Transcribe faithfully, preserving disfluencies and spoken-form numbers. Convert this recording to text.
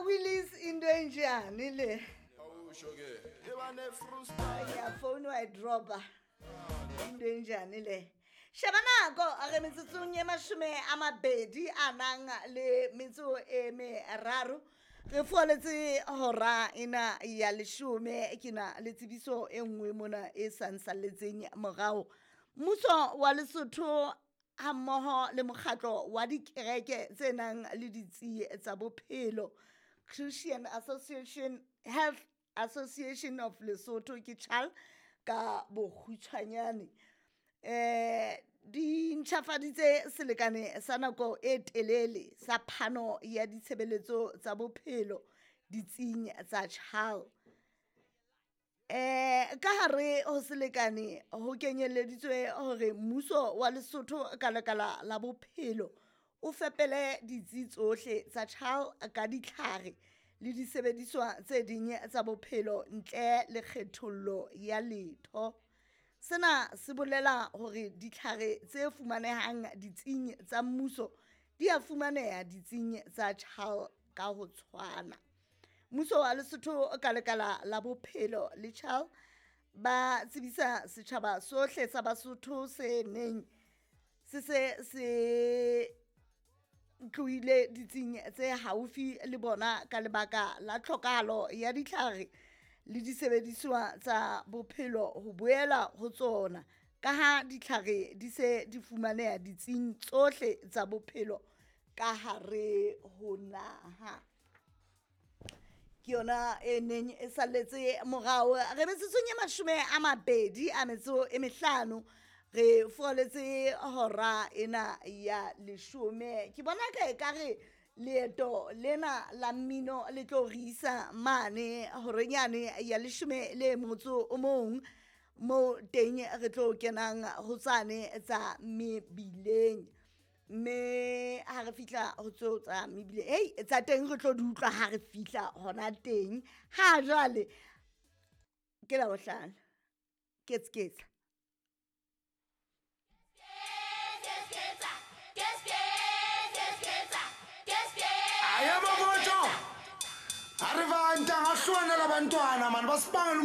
Willis into enjani le? Ngiyafona wayidropa. Into enjani le? Sheba nako re metsotsong e mashome a mabedi a nang le metso e meraro. Re foletse hora ena ya leshome ke na le tsebiso e nngwe mona e sa nsalletseng morao. Mmuso wa Lesotho ha mmoho le mokgatlo wa dikereke tse nang le ditsi tsa bophelo Christian Association Health Association of Lesotho ke CHAL ka bokgutshwanyane eh di ntjhafaditse selekane sa nako e telele sa phano ya ditshebeletso tsa bophelo ditsing tsa CHAL. Eh ka hare ho selekane ho kenyeleditswe hore mmuso wa Lesotho ka lekala la bophelo o fepele ditsi tsohle tsa CHAL ka ditlhare le disebediswa tse ding tsa bophelo ntle le kgethollo ya letho. Sena se bolela hore ditlhare tse fumanehang ditsing tsa mmuso di a fumaneha ditsing tsa CHAL ka ho tshwana. Mmuso wa Lesotho ka lekala la bophelo le CHAL ba tsebisa setjhaba sohle sa Basotho se neng se se se tlohile ditsing tse haufi le bona ka lebaka la tlhokahalo ya ditlhare le disebediswa tsa bophelo ho boela ho tsona ka ha ditlhare di se di fumaneha ditsing tsohle tsa bophelo ka hare ho naha. Ke yona e neng e salletse morao. Re metsotsong e mashome a mabedi a metso e mehlano re foletse hora ena ya leshome. Ke bona ka ekare leeto lena la mmino le tlo re isa mane horeng yane ya leshome le motso o mong mo teng re tlo kenang ho tsane tsa mebileng. Mme ha re fihla ho tseo tsa mebileng, hei tsa teng re tlo di utlwa ha re fihla hona teng. Ha jwale ke Labohlano ketseketsa. Yebo botho. Arivanta ngahlwana labantwana mani basibangela.